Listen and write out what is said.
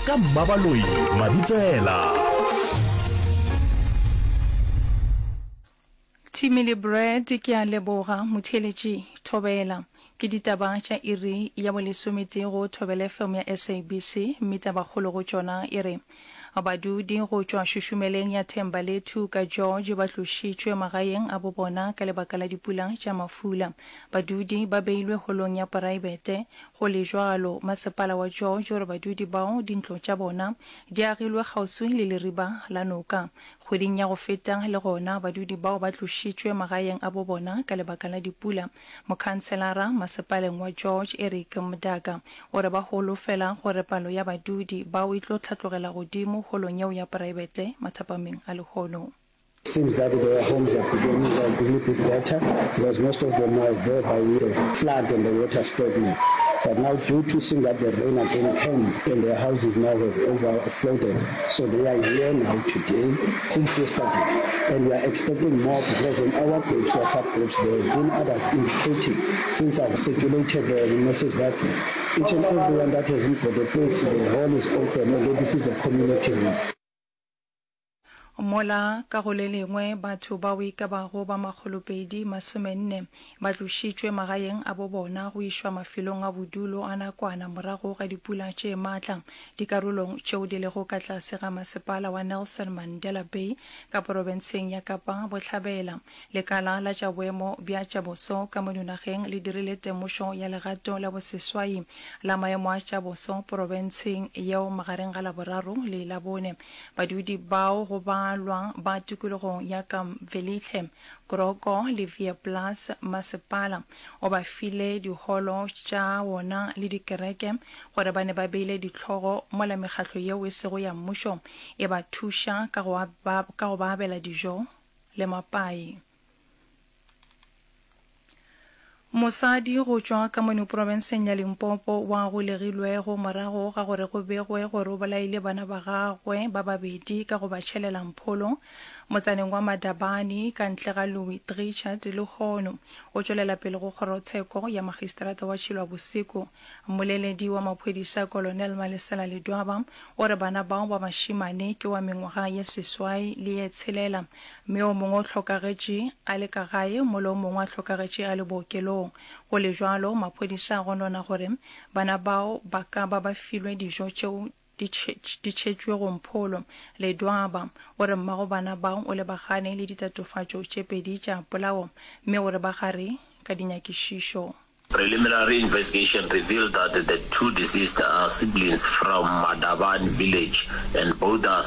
Ka Mmabaloi Mabitsela. Timmy le Brad ke a leboga. Motheeletši, Thobela. Ke ditaba tša iri ya bolesometee go Thobela FM ya SABC mme tabakgolo go tšona e re badudi go tšwa šušumeleng ya Thembalethu ka George ba tlošitšwe magaeng a bobona ka lebaka la dipula tša mafula. Badudi ba beilwe holong ya poraebete Go le bjalo, masepala wa George o re badudi bao dintlo tša bona di agilwe kgauswi le leriba la noka. Kgweding ya go feta le gona badudi bao ba tlošitšwe magaeng a bo bona ka lebaka la dipula. Mokhanselara masepaleng wa George, Eric Mdaka, o re ba holofela gore palo ya badudi bao e tlo hlatlogela godimo holong yeo ya poraebete mathapameng a lehono. Seems that their homes are becoming a little bit better because most of them were there by the flood and the water stagnant. But now due to seeing that the rain again came and their houses now have overflowed, so they are here now today since yesterday. And we are expecting more because in our groups, WhatsApp groups, there have been others indicating since I've circulated the message that each and everyone that hasn't got a place, the hall is open, although this is the community hall. Mola ka go le lengwe batho bao e ka bago ba makgolopedi masomenne ba tlošitšwe magaeng a bo bona go išwa mafelong a bodulo a nakwana morago ga dipula tše matla dikarolong tšeo di lego ka tlase ga masepala wa Nelson Mandela Bay ka porofenseng ya Kapa Bohlabela. Lekala la tša boemo bja tša boso ka mono nageng le dirile temošo ya legato la boseswai la maemo a tša boso porofenseng yeo magareng ga Laboraro le Labone. Badudi bao go balwa ba tikologong ya Kamvelihle, Kroko le Veeplaas masepala o ba file diholo tša wona le dikereke gore ba ne ba beile dihlogo mola mekgatlo yeo e sego ya mmušo e ba thuša ka go ka go ba abela dijo le mapai. Mosadi go tšwa ka mono profenseng ya Limpopo wa golegilwego morago ga gore go begwe gore o bolaile bana ba gagwe ba babedi ka go ba tšhelela mpholo motsaneng wa Madabane ka ntle ga Louis Trichardt lehono o tšwelela pele go kgorotsheko ya magistrata wa Tšhilwabosiko. Mmoleledi wa maphodisa Colonel Malesela Ledwaba o re bana bao ba bašemane ke wa mengwaga ye seswai le ye tshelela Mme o mongwe o hlokagetše a le ka gae mola o mongwe a hlokagetše a le bookelong. Go le bjalo, maphodisa a gonona gore bana bao ba ka ba ba filwe dijo tšeo di di tšhetšwego mpholo. Ledwaba o re mmago bana bao o lebagane le ditatofatšo tše pedi tša polao mme o re ba gare ka dinyakišišo. Preliminary investigation revealed that the two deceased are siblings from Madabane village and both are.